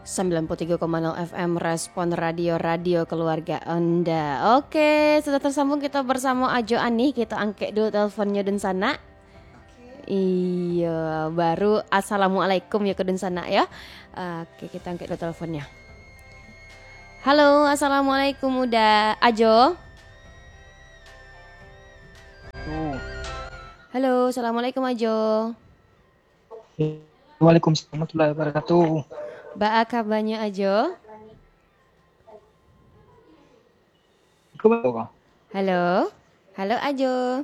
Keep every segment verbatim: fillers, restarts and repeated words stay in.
Sembilan puluh tiga koma nol F M Respon Radio, radio keluarga Anda. Oke, sudah tersambung kita bersama Ajo Anih. Kita angkek dulu teleponnya dunsanak. Iya, baru assalamualaikum ya ke dunsanak ya. Oke, kita angkek dulu teleponnya. Halo, assalamualaikum Uda, Ajo. Tuh. Halo, assalamualaikum Ajo. Waalaikumsalam warahmatullahi wabarakatuh. Baa kabanyo Ajo? Iko ba-, Halo? Halo Ajo.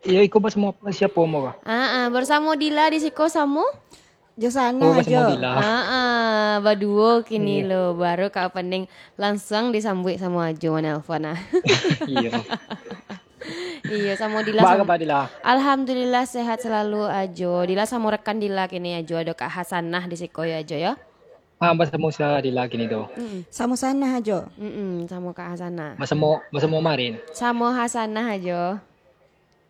Iyo, iko basamo siapo mo ka? Ah, ah, bersamo Dila di siko samo? Jo Sana. Oh, basamo Ajo. Dila. Ah, ah, baduo kini Iya. lo, baru ka opening langsung disambuik samo Ajo manelpon ah. Iyo. Iyo, samo Dila Baa samo kabar, Dila? Alhamdulillah, sehat selalu Ajo. Dila samo rekan Dila kini Ajo, ado Kak Hasanah di siko yo Ajo yo. Ah, basamo sia Dila kini tu? Mm-mm. Samo Sana Ajo. Mm-mm, samo Kak Hasanah. Basamo, basamo Marin. Samo Hasanah Ajo.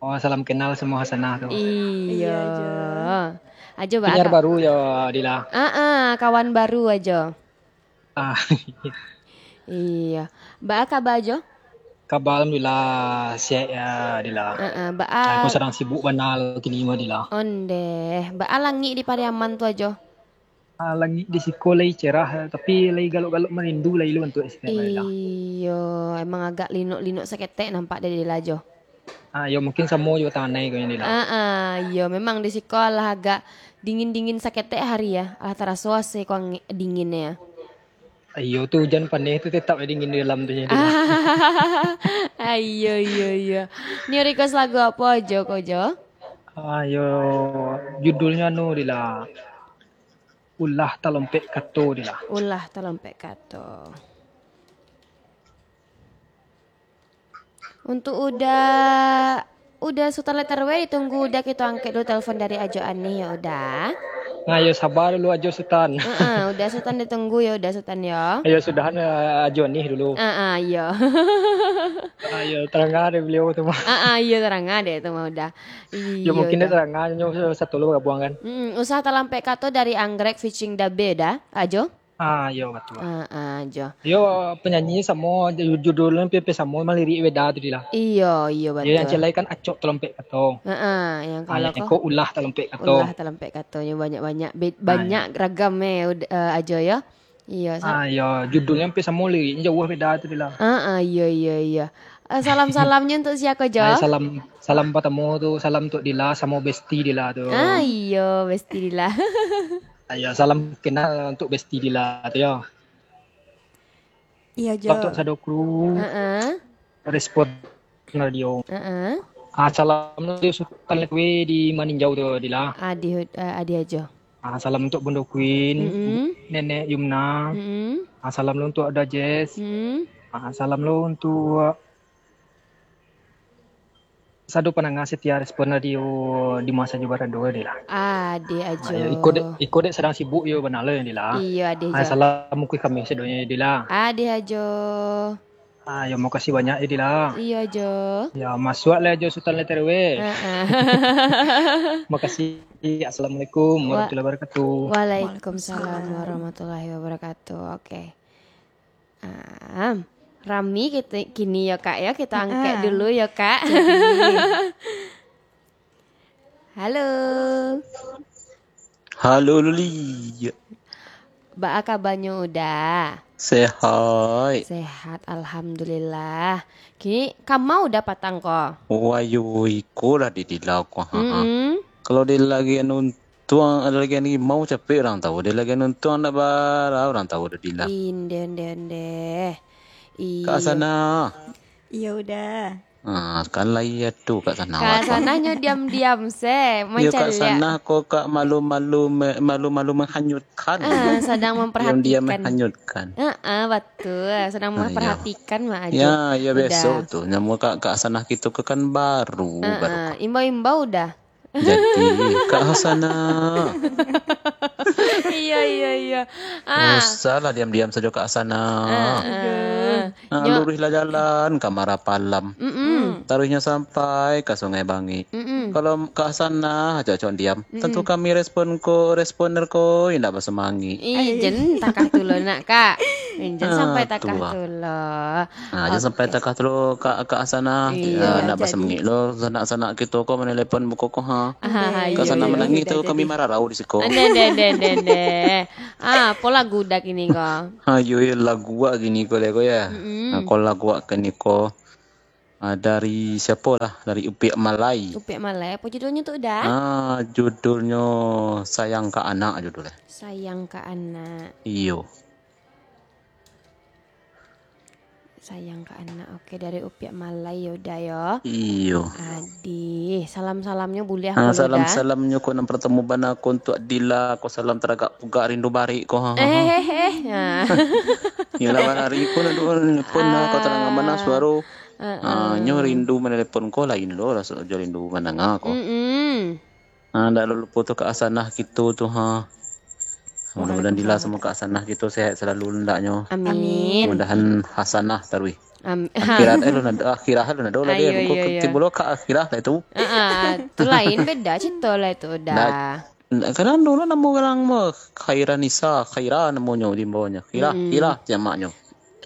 Oh, salam kenal samo Hasanah tu. Iyo. Iyo, Ajo. Ajo, baa Penyiar ka- baru yo, Dila? Ah, ah, kawan baru Ajo. Ah. Iyo. Baa kabar Ajo? Kabar alhamdulillah sehat ya, Dila. Ah, ah, baa- Aku sadang sibuk bana kini mah, Dila. Ondeh, baa langik di Pariaman tu Ajo? Ah, langik di siko lai cerah, tapi lai galok-galok marindu lai lo bantuak esok, Dila. Iyo, emang agak linok-linok saketek nampak dari Dila Ajo. Ah, yo mungkin samo jo tanah ko yo, Dila. Ah, ah, iyo, memang di siko alah agak dingin-dingin saketek hari ya. Alah taraso ase ko angin dinginnyo ya. Iyo tu, hujan paneh tu tetap dingin di dalam tu, Dila. Ah, iyo, iyo, iyo. Ni request lagu apo Ajo ko, Jo? Ah, yo, judulnyo anu, Dila. Ulah talompek kato, Dila. Ulah talompek kato. Untuk Uda, Uda Sutan Letter W ditunggu Uda, kito angkek dulu telepon dari Ajo Anih yo, Uda. Nah, yo sabar dulu Ajo Sutan. Heeh, Uda Sutan ditunggu yo, Uda Sutan yo. Ayo sudahan, eh, Ajo Anih dulu. Heeh, iyo. Ayo, tarangah dek baliau tu mah. Heeh, iyo, tarangah dek tu mah Uda. Yo, iyo, mungkin Uda. Dek tarangah nyo satu lo gabuang kan. Mm, usah talampek kato dari Anggrek featuring Dabe Uda, Ajo. Ah, iyo, batua. Ah, ah, Jo. Yo, penyanyi samo, ju-, judulnyo hampir-hampir samo, mah lirik beda tu, Dila. Iyo, iyo, batua. Yo, yang celai kan Acok Talompek Kato. Heeh, yang Ah, kalau yang ko ko Ulah Talompek Kato. Ulah Talompek Kato, yo banyak-banyak, be-, Ah, banyak iyo. Ragam eh, Ud-, eh, Ajo yo. Iyo, sa- Ah, iyo, judulnyo hampir samo, liriknyo jauah beda tu, Dila. Ah, ah, iyo, iyo, iyo. Eh, salam-salamnyo untuk sia ko, Jo? Ai, salam, salam pertamo tu, salam untuk Dila samo Besti Dila tu. Ah, iyo, Besti Dila. Ayo, salam kenal untuk Besti Dila tu yo. Iyo, Jo. Untuk sado kru. Heeh. Respon Radio. Heeh. Ah, salam dari Sutan Lekwe di Maninjau tu, Dila. Adih, eh, adih Ajo. Ah, salam untuk Bundo Queen, Mm-mm. Nenek Yumna. Mm-mm. Ah, salam lo untuk Ada Jess. Mm-mm. Ah, salam lo untuk sado pandanga setia Respon Radio di masa jo barado, Dila. Adih Ajo. Ah, yo, iko dek, iko dek sadang sibuk yo bana lo, Dila. Iyo, adih Ah, Ajo. Salam ukui kami sadonyo, Dila. Adih Ajo. Ah, yo, makasih banyak, Dila. Iyo, Ajo. Yo, masuak lah Ajo Sutan Letter W. Heeh. Makasih. Assalamualaikum Wa-, warahmatullahi wabarakatuh. Waalaikumsalam warahmatullahi wabarakatuh. Oke. Ah, rami kito kini yo, Kak, yo. Kito angkek Ah. dulu yo, Kak. Jadi. Halo. Halo, Luli. Baa kabanyo Uda? Sehat. Sehat, alhamdulillah. Kini kama Uda patang ko? Wayo, iko lah di Dila ko. Ha, ha. Mm-mm. Kalau di lagi anu Tuang, ado lagi rimau capek urang tau, ado lagi nuntuang ndak bara urang tau, ado Dila. Inde, inde, inde. Iyo. Kak Sana. Iyo, Uda. Ah, kan lah iyo tu, Kak Sana. Kak Sana nyo diam-diam se, Iyo, Kak mancaliak. Sana ko, Kak, malu-malu me-, malu-malu menghanyutkan. Ah, sadang Diam-diam memperhatikan. menghanyutkan. Ah, ah, batul. Sedang Ah, iyo. memperhatikan, Mak Ajo. Ya, ya, Uda. Biaso tu. Namo Kak, Kak Sana kito ko kan baru, Ah, baru. ah. Imbau-imbau Uda. Jadi, Kak Hasanah. Iyo, iyo, iyo. Ah. Usahlah diam-diam sajo, Kak Hasanah. Ah, ah. Ah, Nyo- luruihlah jalan ka Marapalam. Mm-mm. Taruihnyo sampai ka Sungai Bangik. Mm-mm. Kalau Kak Hasanah, acok-acok diam. Tantu kami respon ko, responder ko, indak basamangik. Ih, jan takah tu lo nak, Kak. Jan sampai takah tu lo. Ah, jan sampai takah tu lo, Kak, Kak Hasanah. Iyo, ah, indak basamangik lo, sanak-sanak kito ko manelepon muko ko, ha. Ah, Kak Hasanah manangih tu, kami mararau di siko. Ndeh, ndeh, ndeh, ndeh, ndeh. Ah, apo lagu dah kini ko? Ha, yo, yo, lagu wak kini ko, le ko, ya. Mm-mm. Ah, ko lagu wak kini ko. Ah, dari siapo lah? Dari Upiak Malai. Upiak Malai, apo judulnyo tu, Uda? Ah, judulnyo Sayang ka Anak judulnyo. Sayang ka Anak. Iyo. Sayang ka Anak. Oke, dari Upiak Malai yo, Uda, yo. Iyo. Adih, salam-salamnyo buliah. Ah, ko, Uda? Salam-salamnyo ko nan partamo bana ko untuak Dila, ko salam taragak pugak rindu barik ko. Eh, eh, eh. Ah. Iyolah, hari ko nan duo nelpon, ah, ko tarang bana suaro. Ah, nyo rindu manelepon ko lain lo, raso jo rindu mandanga ko. Mm-mm. Ah, ndak lupo tu Kak Hasanah kito tu, ha. Mudah-mudahan Dila samo Kak Hasanah kito sehat salalu ndaknyo. Amin. Mudahan Hasanah taruih. Am-, akhirat, eh, lo nado, akhirah lo nado lah. Ayo, dia. Iyo, iyo. Tibo lo ka akhirah lah tu. Ah, ah, tu lain, beda carito lah tu, Uda. Ndak, ndak, kadang dulu namo urang mah Khairanisa, Khaira namonyo di bawahnya. Khairah, mm-mm. Khairah jamaknyo.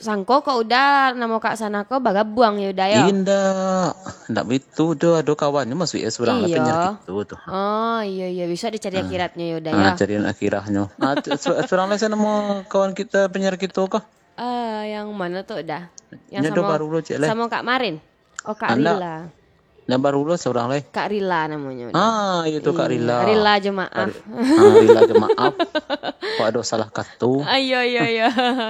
Sangko kok Uda namo Kak Hasanah ko bagabuang yo, Uda, yo? Indak. Indak baitu doh, ado kawannyo masuak surang lah penyiar kito tu. Oh, iyo, iyo, bisa dicari akhiratnyo yo, Uda, yo. Ah, cari akhirahnyo. Ah, tu, su-, surang lah sia namo kawan kito penyiar kito ko? Ah, yang mano tu, Uda? Yang samo, baru lo, cek, lah. Samo Kak Marin? Oh, Kak Rila. Nan baru lo surang lai. Kak Rila namonyo. Ah, iyo tu, Kak Rila. Rila jo maaf. Kak Ri-, ah, rila jo maaf. Kok ado salah kato. Ah, iyo, iyo, iyo.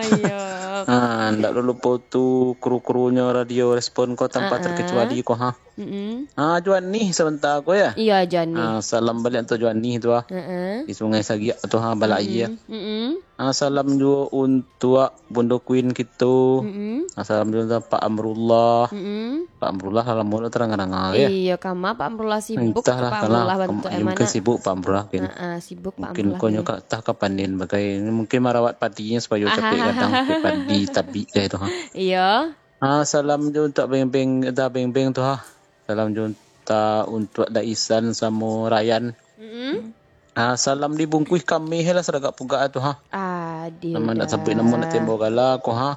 Iyo. Ah, ndak lupo tu kru-krunyo Radio Respon ko tanpa terkecuali ko, ha. Mm-mm. Ah, Juani sabanta ko, ya. Iyo, Juani. Ah, salam baliak untuak Juani tu, ah. Heeh. Di Sungai Sagiak tu, ha, balai, ya. Mm-mm. Mm-mm. Ah, salam juo untuak Bundo Queen kito. Mm-mm. Ah, salam juo untuak Pak Amrullah. Mm-mm. Pak Amrullah lah lamo dak tarang-tarang, ya. Iyo, kama Pak Amrullah sibuk. Entahlah, Pak Amrullah bantuak mungkin sibuk Pak Amrullah, mungkin. Heeh, sibuk Pak Amrullah. Mungkin ko nyo ka, tah ka panen bagai. Mungkin marawat padinyo supayo capek gadang, capek padi tabik deh tu, ha. Iyo. Ah, salam juo untuak Beng-Beng, Da Beng-Beng tu, ha. Salam juo untuak, untuak Daisan samo Rayan. Mm-mm. Ah, salam dibungkuih kamih lah saragak pugak tu, ha. Adih, Uda. Namo nak sabuik namo nak tembo gala ko, ha.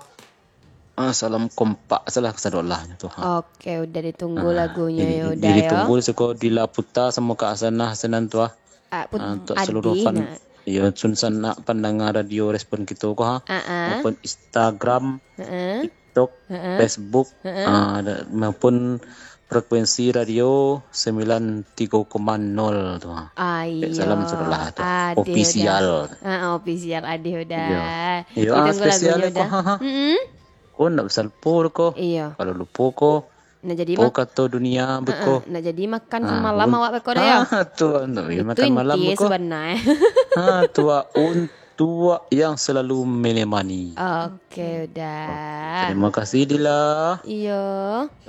Ah, salam kompak salah kasadolah tu, ha. Oke, Uda, ditunggu lagunyo yo, Uda, yo. Ditunggu siko Dila Puta samo Kak Hasanah Senan tu, ha. Ah, put-, ah, untuak seluruh fan, yo, sanak pandanga Radio Respon kito ko, ha. Ah, ah. Maupun Instagram, heeh. TikTok, heeh. Facebook, heeh. Ah, da-, maupun frekuensi radio sembilan tiga koma nol tu, ha. Ah, iyo. Salam sadolah tu. Adih, Uda. Official. Ah, ah, official, adih, Uda. Iyo. Iyo, ah, ditunggu spesial lagunyo, ko, Uda. Ha, ha. Mm-mm. Ko ndak bisa lupo ko. Iyo. Kalau lupo ko, nak jadi po mak-, kato dunia beko. Heeh, nak jadi makan malam awak beko dah, yo? Ah, tu, nak jadi makan malam beko. Itu inti sebenarnyo. Ah, tu, ah, untuak yang selalu menemani. Oke, Uda. Terima kasih, Dila. Iyo.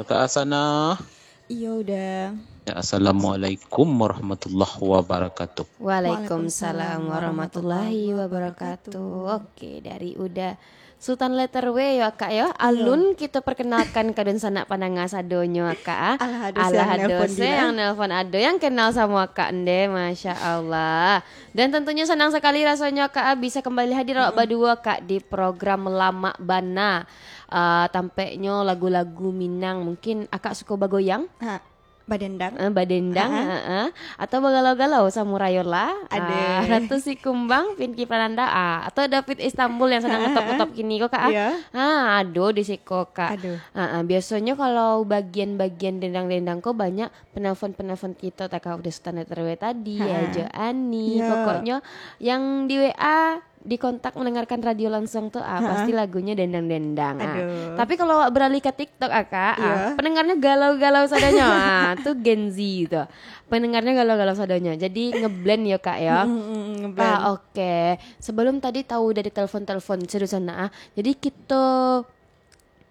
Kak Hasanah. Iyo, Uda. Ya, assalamualaikum warahmatullahi wabarakatuh. Waalaikumsalam warahmatullahi wabarakatuh. Oke, dari Uda Sultan Letter W yo, Kak, yo. Iyo. Alun kito perkenalkan ka dunsanak pandanga sadonyo, Kak, ah. Alah, ado se yang nelpon, ado yang kenal samo Akak ndeh, Masya Allah. Dan tentunyo sanang sakali rasonyo, Kak, ah, bisa kembali hadir awak baduo, Kak, di program Lamak Bana. Ah, tampeknyo lagu-lagu Minang. Mungkin Akak suko bagoyang? Ha. Badendang. Eh, badendang, heeh. Atau bagalau-galau samo Rayola, ah, Ratu Sikumbang, Pinky Prananda, ah, atau David Istanbul yang sadang ngetop-ngetop kini ko, Kak, ah. Iyo. Ah, ado di siko, Kak. Aduh. Ah, ah, biasonyo kalau bagian-bagian dendang-dendang ko banyak penelpon-penelpon kito, tak kah, udah Sultan Letter W tadi, Ajo Ani, pokoknyo yang di W A dikontak mendengarkan radio langsung tu, ah, pasti lagunyo dendang-dendang, ah. Aduh. Tapi kalau awak beralih ke TikTok, ah, Kak, ah, pendengarnyo galau-galau sadonyo, ah, tu Gen Z tu. Pendengarnyo galau-galau sadonyo. Jadi ngeblend yo, Kak, yo. Mm, mm, mm, ngeblend. Ah, oke. Sebelum tadi tahu dari telepon-telepon sedusan, ah. Jadi kito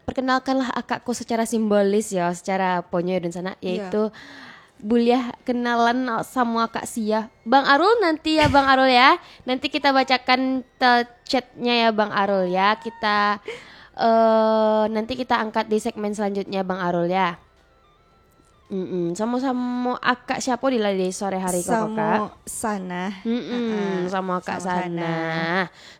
perkenalkanlah akak ko secara simbolis yo, secara ponyo dan sanak, yaitu buliah kenalan samo akak sia. Bang Arul nanti ya, Bang Arul ya. Nanti kita bacakan te-, chatnya ya, Bang Arul ya. Kita, eh, nanti kita angkat di segmen selanjutnya, Bang Arul ya. Mm-mm. Samo-samo akak siapo Dila di sore hari ko, Kak? Samo Sana. Mm-mm. Ha-ha. Samo akak Sana.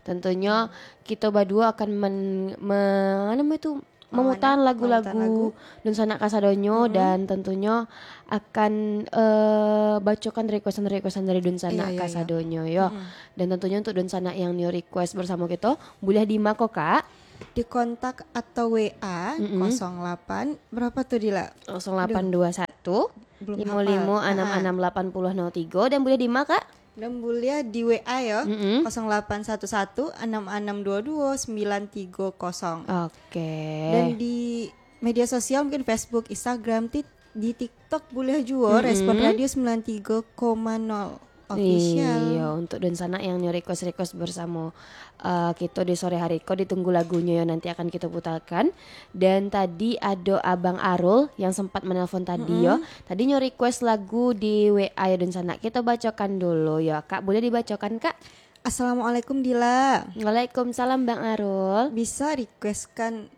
Tentunyo kito baduo akan men-, me-, apo namo itu, mamutakan lagu-lagu dunsanak kasadonyo, dan tentunyo akan, eh, bacokan requestan-requestan dari dunsanak kasadonyo, yo. Dan tentunyo untuk dunsanak yang nio request bersamo kito, buliah di ma ko, Kak? Di kontak atau W A, kosong delapan, berapa tu, Dila? Kosong delapan dua satu, limo limo anam anam delapan puluh nol tigo, dan buliah di ma, Kak? Dan buliah di W A yo, kosong delapan satu satu, enam enam dua dua, sembilan tiga kosong. Oke. Dan di media sosial, mungkin Facebook, Instagram, Tik-, di TikTok buliah juo, Respon Radio sembilan tiga koma nol Official. Iyo, untuk dunsanak yang nio request-request bersamo, eh, kito di sore hari ko, ditunggu lagunyo yo, nanti akan kito putarkan. Dan tadi ado Abang Arul yang sempat menelpon tadi yo. Tadi nyo request lagu di W A yo, dunsanak. Kito bacokan dulu yo, Kak. Buliah dibacokan, Kak? Assalamualaikum, Dila. Waalaikumsalam, Bang Arul. Bisa requestkan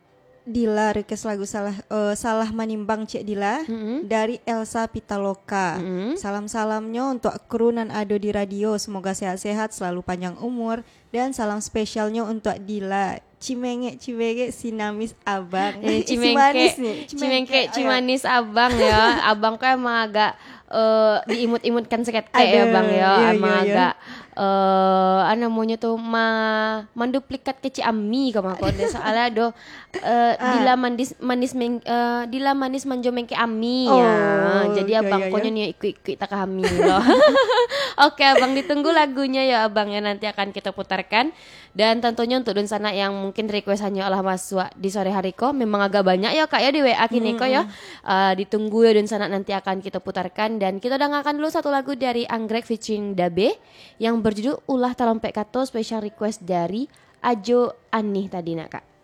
Dila, request lagu Salah, eh, Salah Manimbang, Cik Dila, dari Elsa Pitaloka. Salam-salamnyo untuk kru nan ado di radio, semoga sehat-sehat, selalu panjang umur, dan salam spesialnyo untuk Dila. Cimengek, cimengek, si manis abang. Eh, si manis ni. Cimengkek, ayo. Cimanis abang yo. Abang ko emang agak, eh, diimut-imutkan saketek yo, Bang yo. Emang agak, eh, apo namonyo tu, ma-, manduplikat kecik Ami ko mako. Soalnyo ado, eh, Dila manis, manis meng-, eh, Dila manis manjo mengke Ami. Oh, jadi abang ko nyo nio ikuik-ikuik takah Ami lo. Oke, Abang, ditunggu lagunyo yo, Abang, yo, nanti akan kito putarkan. Dan tentunyo untuk dunsanak yang mungkin request-annyo alah masuak di sore hari ko, memang agak banyak yo, Kak, yo, di W A kini ko yo. Ah, ditunggu yo dunsanak, nanti akan kito putarkan. Dan kito dangakan dulu satu lagu dari Anggrek featuring Dabe yang berjudul Ulah Tarompet Kato, special request dari Ajo Anih tadi nak, Kak.